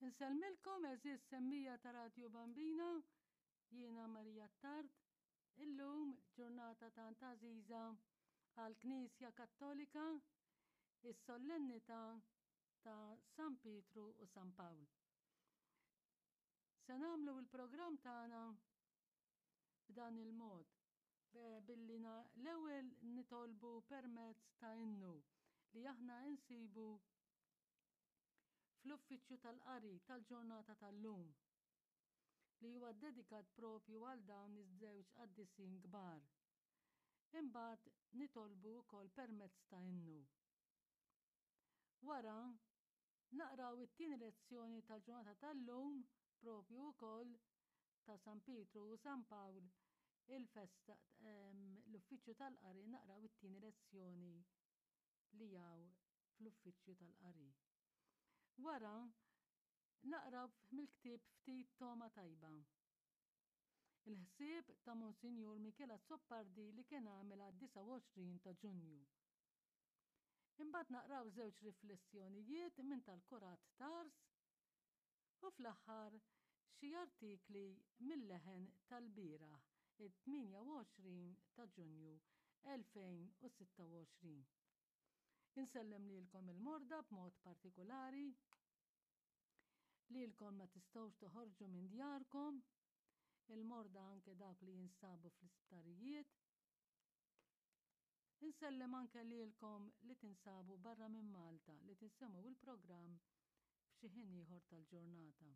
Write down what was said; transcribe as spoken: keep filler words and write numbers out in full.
Insellmilkom għeżież semmiegħa ta' Radju Bambina, jiena Marija Tard, illum ġurnata tant għażiża għall-Knisja Kattolika, is-sollennità ta' San Pietru u San Pawl. Se nagħmlu il-programm tagħna b'dan il-mod, billi l-ewwel nitolbu permezz ta' innu li aħna insibu fl-uffiċċju tal-qari tal-ġurnata tal-lum li huwa dedikat propju għal dawn iż-żewġ qaddisin kbar. Imbagħad nitolbu wkoll permezz ta' innu. Wara naqraw it-tieni lezzjoni tal-ġurnata tal-lum propju wkoll ta' San Pietru u San Pawl il-festa l-uffiċċju tal-qari naqraw it-tieni lezzjoni li hawn fl-uffiċċju tal-qari. Wara naqraw mill-ktieb ftit toma tajba. Il-ħsieb ta' Monsinjur Michele Azzopardi li kien għamel għad-disgħa u għoxrin ta' Ġunju. Imbagħad naqraw żewġ riflessjonijiet minn tal-Kurat Tars u fl-aħħar xi artikli mill-leħen tal-bieraħ it-tmienja u għoxrin ta' Ġunju elfejn u sitta u għoxrin. Insellem lilkom il-morda b'mod partikolari, lilkom ma tistgħux toħorġu minn djarkom, il-morda anke dawk li jinsabu fl-isptarijiet. Insellem anke lilkom li tinsabu barra minn Malta li tinsemgħu il-programm f'xi ħin ieħor tal-ġurnata.